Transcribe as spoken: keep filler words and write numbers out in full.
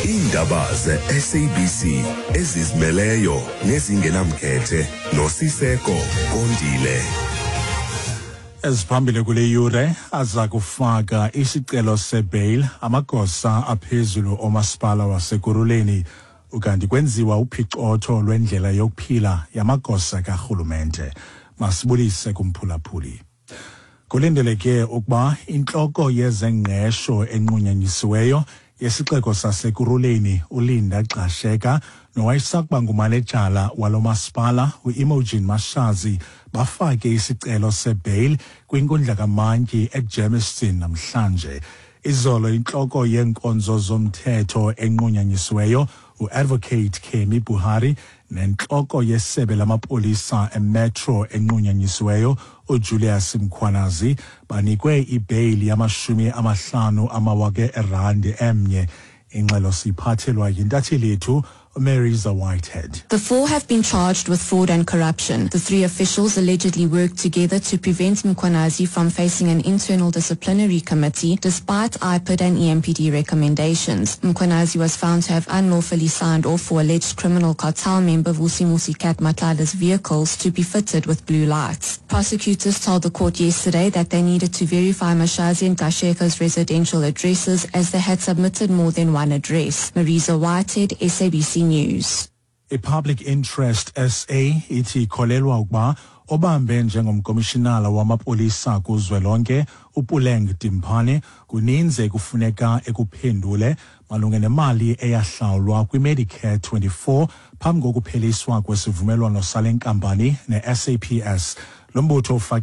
Iindaba ze-S A B C ezizimeleyo nezingenamkhethe noSiseko Kondile. Eziphambili kule yure: aza kufaka isicelo sebail amagosa aphezulu omasipala waseKurhuleni, ukanti kwenziwa uphicotho lwendlela yokuphila yamagosa karhulumente. Masibulise kumphulaphuli. Kulindeleke ukuba intloko yezengqesho enqunyanyisiweyo yesixeko saseKurhuleni, uLinda Gxasheka, nowayesakuba ngumanejala walo masipala, uImogen Mashazi, bafake isicelo sebail kwinkundla kamantyi eGermiston namhlanje. Izolo intloko yeenkonzo zomthetho enqunyanyisiweyo, uAdvocate Kemi Buhari, nentloko yesebe lamapolisa emetro enqunyanyisiweyo, uJulius Mkhwanazi, banikwe ibheyili yamashumi amahlanu amawaka erandi emnye. Ingxelo siyiphathelwa yintatheli yethu Marisa Whitehead. The four have been charged with fraud and corruption. The three officials allegedly worked together to prevent Mkhwanazi from facing an internal disciplinary committee despite I P I D and E M P D recommendations. Mkhwanazi was found to have unlawfully signed off for alleged criminal cartel member Vusimusi Cat Matlala's vehicles to be fitted with blue lights. Prosecutors told the court yesterday that they needed to verify Mashazi and Gxasheka's residential addresses, as they had submitted more than one address. Marisa Whitehead, S A B C News. I-Public Interest S A ithi ikholelwa ukuba obambe njengomkomishinala wamapolisa kuzwelonke, uPuleng Dimpane, kuninzi ekufuneka ekuphendule malunga nemali eyahlawulwa kwiMedicare twenty-four phambi kokupheliswa kwesivumelwano sale nkampani ne-S A P S. Lo mbutho ufake